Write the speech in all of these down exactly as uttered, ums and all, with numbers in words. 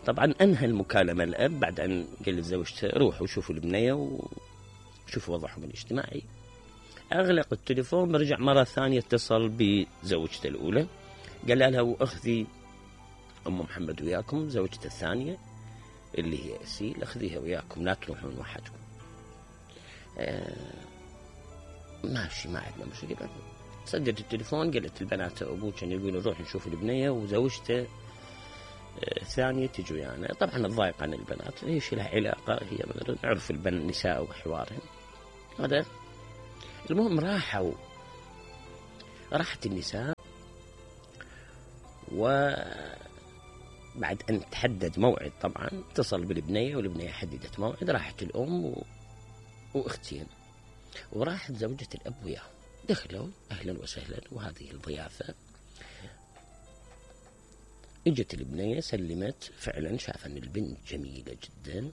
طبعا انهى المكالمة الاب بعد ان قال لزوجته روحوا شوفوا البنية وشوفوا وضعهم الاجتماعي. اغلق التليفون، رجع مرة ثانية اتصل بزوجته الاولى قال لها واخذي ام محمد وياكم، زوجته الثانية اللي هي اسيل، اخذيها وياكم لا تروحون وحدكم. آه ماشي ما عندنا مشكلة. سدت التليفون، قالت البنات ابوك كان يقول نروح نشوف البنية وزوجته الثانية تجي ويانا. يعني طبعا الضايق عن البنات، ايش لها علاقة، هي نعرف النساء وحوارهم هذا. المهم راحوا راحت النساء، وبعد أن تحدد موعد طبعا اتصل بالبنية والبنية حددت موعد، راحت الأم و... وأختين، وراحت زوجة الأب وياهم. دخلوا أهلا وسهلا وهذه الضيافة. اجت البنية سلمت، فعلا شاف أن البنت جميلة جدا،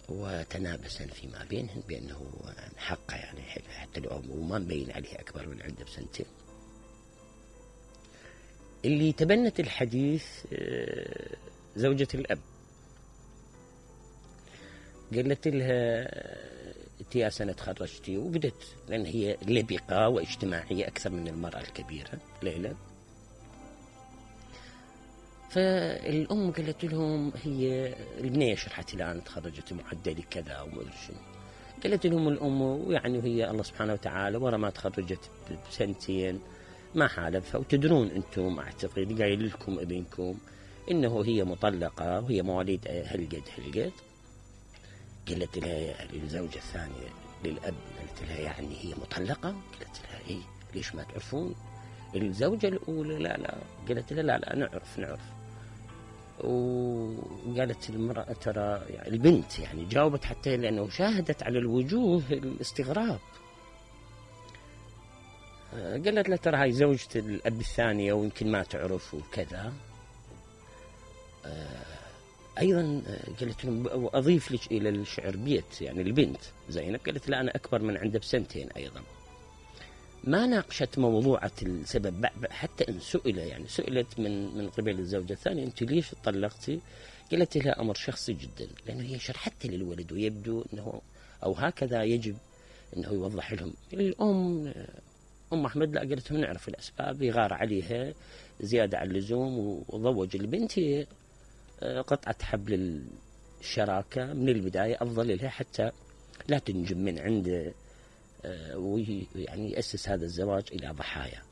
وتنابسا فيما بينهن بأنه حقه يعني حتى لو وما مبين عليه أكبر من عنده بسنتين. اللي تبنت الحديث زوجة الأب، قالت لها انت يا سنة تخرجتي، وبدت لأن هي لبقة واجتماعية أكثر من المرأة الكبيرة ليلى. فالأم قالت لهم، هي البنية شرحت الآن تخرجت معدلي كذا وما أدري شنو، قالت لهم الأم يعني هي الله سبحانه وتعالى ورا ما تخرجت بسنتين ما حالفها، وتدرون أنتم أعتقد قايل لكم ابنكم إنه هي مطلقة وهي مواليد هالقد هالقد. قالت لها للزوجة الثانية للأب، قالت لها يعني هي مطلقة؟ قالت لها إيه ليش ما تعرفون؟ الزوجة الأولى لا لا، قالت لها لا لا نعرف نعرف. وقالت المرأة ترى يعني البنت يعني جاوبت حتى لأنه شاهدت على الوجوه الاستغراب. قالت له ترى هاي زوجة الأب الثانية ويمكن ما تعرف وكذا. أيضا قالت لهم وأضيف لك إلى الشعر بيت، يعني البنت زينب قالت لا أنا أكبر من عنده بسنتين أيضا. ما ناقشت موضوعة السبب، حتى إن سئل يعني سئلت من من قبل الزوجة الثانية أنت ليش طلقتي؟ قالت لها أمر شخصي جدا، لأنه هي شرحت للولد ويبدو أنه أو هكذا يجب أنه يوضح لهم. الأم أم أحمد لا، قالت لهم نعرف الأسباب، يغار عليها زيادة عن اللزوم وضوج البنت قطعة حبل الشراكة من البداية أفضل لها حتى لا تنجم من عنده ويعني يأسس هذا الزواج إلى ضحايا.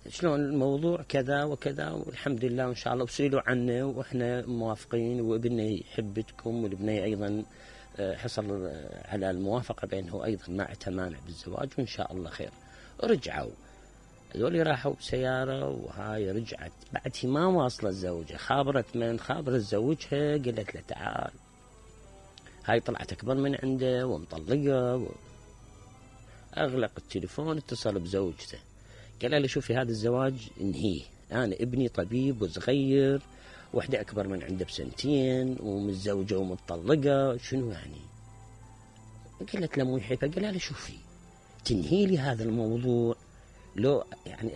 شلون الموضوع كذا وكذا والحمد لله وإن شاء الله، وسئلوا عنه وإحنا موافقين، وابنه يحبتكم والابنية أيضا حصل على الموافقة بأنه أيضا ما اعتمانع بالزواج وإن شاء الله خير. رجعوا هذول راحوا بسيارة، وهاي رجعت بعد ما واصلة الزوجة، خابرت من خابرت زوجها، قالت له تعال هاي طلعت أكبر من عنده ومطلقة و... أغلق التليفون، اتصل بزوجته قال له شوفي هذا الزواج انهيه، أنا ابني طبيب وصغير، وحدة أكبر من عنده بسنتين ومتزوجة ومطلقة، شنو يعني؟ قالت له مو يحبها. قال له شوفي تنهي لي هذا الموضوع لو يعني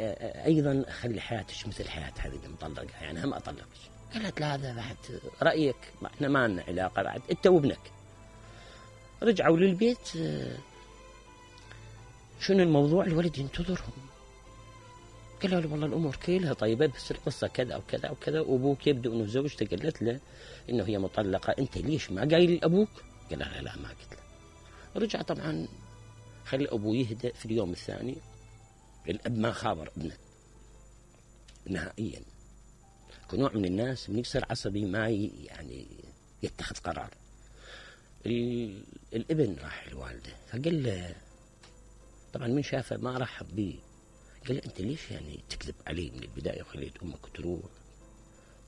أيضا أخلي حياتك مثل حياة هذه المطلقة، يعني هم أطلقك. قالت لا هذا بعد رأيك، احنا ما لنا علاقة بعد أنت وابنك. رجعوا للبيت، شنو الموضوع؟ الولد ينتظرهم. قال له والله الأمور كلها طيبة بس القصة كذا أو كذا أو كذا، وأبوك يبدو أنه زوجته قالت له إنه هي مطلقة، أنت ليش ما قايل لأبوك؟ قال لا لا ما قلت له. رجع طبعا خلي أبوه يهدأ. في اليوم الثاني الأب ما خابر ابنه نهائيا. كنوع من الناس من يصير عصبي ما يعني يتخذ قرار. الابن راح لوالده فقال له، طبعا من شافه ما رحب به، قال له أنت ليش يعني تكذب علي من البداية وخليت أمك تروح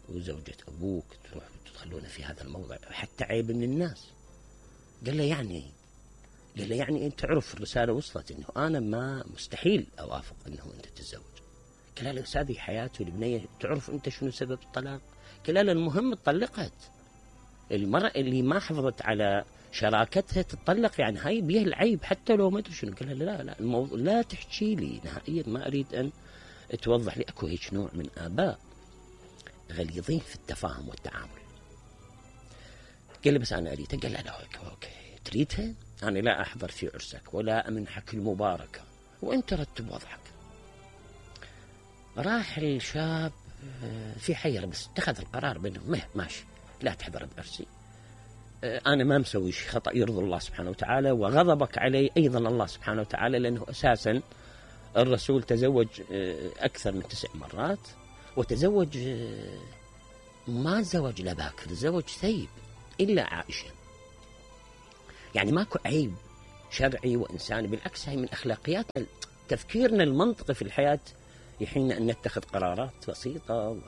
وزوجة أبوك تروح وتدخلون في هذا الموضع حتى عيب من الناس؟ قال له يعني قال له يعني أنت تعرف الرسالة وصلت إنه أنا ما مستحيل أوافق إنه أنت تتزوج. قال له هذه حياته البنية، تعرف أنت شنو سبب الطلاق؟ قال له المهم اتطلقت. المرأة اللي ما حافظت على شراكتها تتطلق، يعني هاي بيها العيب حتى لو ما أدري شنو. قال له لا لا الموضوع لا تحكي لي نهائيا، ما أريد أن توضح لي. أكو هيك نوع من آباء غليظين في التفاهم والتعامل. قال لي بس أنا أريدها. قال لا لا أوكي تريدها، أنا لا أحضر في عرسك ولا أمنحك المباركة وأنت رتب وضعك. راح الشاب في حيرة، بس اتخذ القرار بأنه ماشي لا تحضر بعرسي، أنا ما مسوي شيء خطأ يرضي الله سبحانه وتعالى، وغضبك علي أيضا الله سبحانه وتعالى، لأنه أساسا الرسول تزوج أكثر من تسع مرات، وتزوج ما تزوج لا باكر، تزوج ثيب إلا عائشة. يعني ماكو عيب شرعي وإنساني، بالعكس هي من أخلاقياتنا، تفكيرنا المنطقي في الحياة يحين أن نتخذ قرارات بسيطة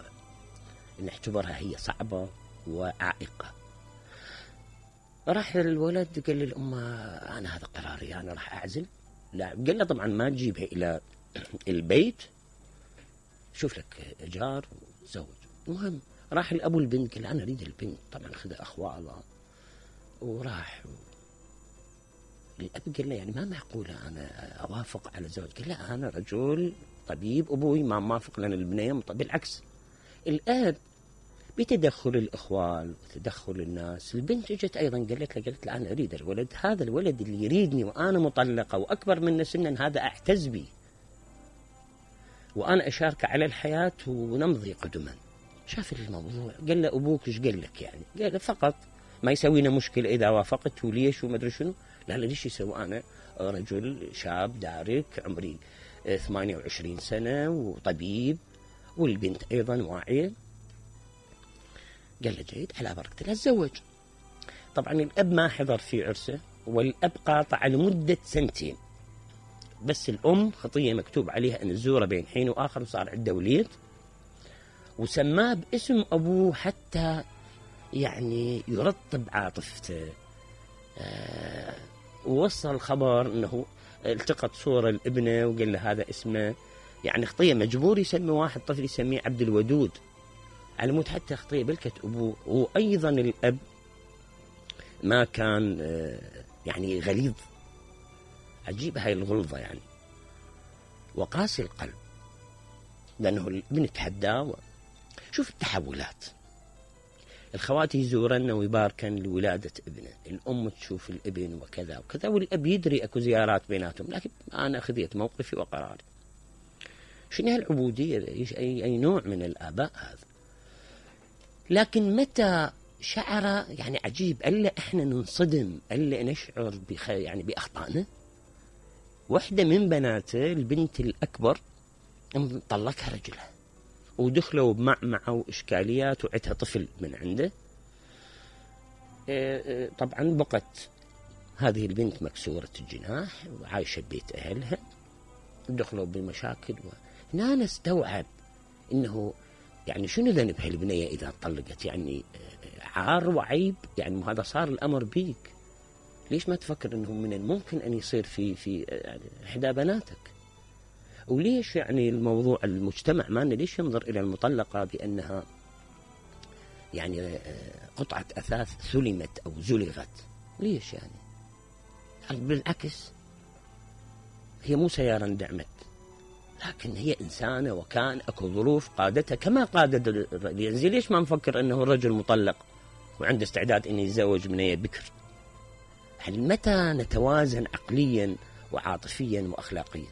ونعتبرها هي صعبة وعائقة. راح الولد قال للأم أنا هذا قراري، أنا راح أعزل. لا، قال له طبعا ما تجيبها إلى البيت، شوف لك جار وتزوج. المهم راح الأبو البنت قال أنا أريد البنت، طبعا خذ أخوالها وراح. الأب قال له يعني ما معقولة أنا أوافق على زواج. قال لا أنا رجل طبيب، أبوي ما موافق لنا البنية. بالعكس الآب بتدخل الإخوان وتدخل الناس، البنت اجت أيضا قالت له قالت له أنا أريد الولد، هذا الولد اللي يريدني وأنا مطلقة وأكبر من سنا، هذا أعتز بي وأنا أشارك على الحياة ونمضي قدما. شاف الموضوع قال له أبوك إيش قال لك يعني؟ قال له فقط ما يسوينا مشكلة إذا وافقت وليش وما أدري شنو. لا لا ليش يسوي، أنا رجل شاب دارك عمري ثمانية وعشرين سنة وطبيب، والبنت أيضا واعية. قال له جيد على بركة الله تزوج. طبعا الأب ما حضر في عرسه، والأب قاطع لمدة سنتين، بس الأم خطية مكتوب عليها أن تزوره بين حين وآخر، وصار عنده وليد وسماه باسم أبوه حتى يعني يرطب عاطفته. آه ووصل الخبر أنه التقط صورة الابنة وقال له هذا اسمه، يعني خطية مجبور يسمي واحد طفل يسميه عبد الودود على مود حتى خطية بلكة أبوه. وأيضا الأب ما كان يعني غليظ، عجيب هاي الغلظة يعني، وقاسي القلب، لأنه الابن تحداه. شوف التحولات، الخواتي يزورن ويباركن لولادة ابنه، الأم تشوف الابن وكذا وكذا، والأب يدري أكو زيارات بيناتهم، لكن أنا أخذت موقفي وقراري. شنو هالعبودية؟ أي, أي نوع من الآباء هذا؟ لكن متى شعر يعني عجيب، ألا إحنا ننصدم، ألا نشعر بخ يعني بأخطائنا. واحدة من بناته البنت الأكبر طلقها رجلها ودخلوا بمعمعة وإشكاليات وعتها طفل من عنده. طبعا بقت هذه البنت مكسورة الجناح وعايشة ببيت أهلها، دخلوا بمشاكل. هنا نستوعب إنه يعني شنو ذنب هالبنية إذا طلقت؟ يعني عار وعيب، يعني هذا صار الأمر بيك، ليش ما تفكر إنه من الممكن أن يصير في في يعني إحدى بناتك؟ وليش يعني الموضوع المجتمع مالنا ليش ينظر إلى المطلقة بأنها يعني قطعة أثاث سلمت أو زلغت؟ ليش يعني؟ بالعكس هي مو سيارة اندعمت، لكن هي إنسانة وكان أكو ظروف قادتها كما قادت الرجل. يعني ليش ما نفكر أنه الرجل مطلق وعنده استعداد أن يتزوج بنية بكر؟ هل متى نتوازن عقليا وعاطفيا وأخلاقيا؟